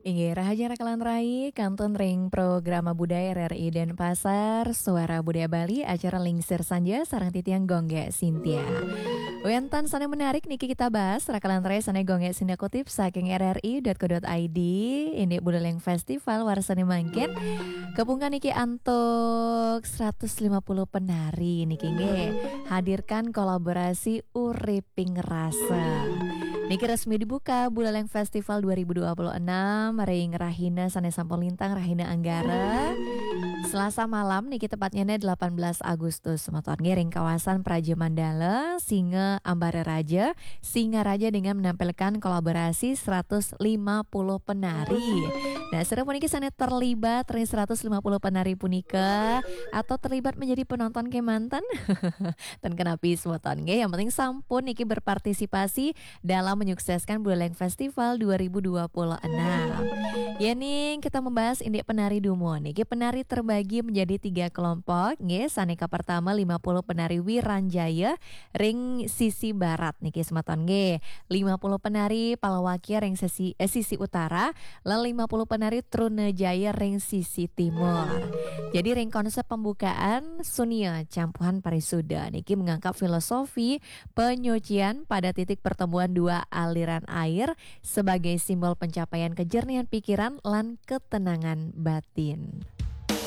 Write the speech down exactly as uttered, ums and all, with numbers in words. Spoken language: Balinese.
Inggih, rahajeng raka lan rai, kantun ring programa budaya R R I Denpasar, Suara Budaya Bali, acara Lingsir Sanja, sareng titiang Gung Gé Sintia. Wénten sané menarik niki kita bahas, raka lan rai, sané Gung Gé Sintia kutip saking R R I dot co dot I D, indik Buleleng Festival warsané mangkin. Kapungkur niki antuk seratus lima puluh penari niki nggih. Hadirkan kolaborasi Uriping Rasa. Niki resmi dibuka Buleleng Festival dua ribu dua puluh enam ring rahina sané sampun lintang, rahina Anggara. Selasa malam niki, tepatnya delapan belas Agustus, semeton nggih, ring kawasan Praja Mandala, Singa Ambara Raja, Singaraja, dengan menampilkan kolaborasi seratus lima puluh penari. Nah, sira puniki sané terlibat ring seratus lima puluh penari punika atau terlibat menjadi penonton kémanten? Ten kenapi semeton nggih, yang penting sampun niki berpartisipasi dalam menyukseskan Buleleng Festival dua ribu dua puluh enam. Yéning kita membahas indik penari dumun, niki penari terbagi menjadi tiga kelompok nggih. Sané kapertama lima puluh penari Wiranjaya ring sisi barat niki semeton nggih. Lima puluh penari Palawakya ring sisi, eh, sisi utara, lan lima puluh penari Trunajaya ring sisi timur. Jadi ring konsep pembukaan, Sunia Campuhan Parisuda niki mengangkat filosofi penyucian pada titik pertemuan dua aliran air sebagai simbol pencapaian kejernihan pikiran lan ketenangan batin.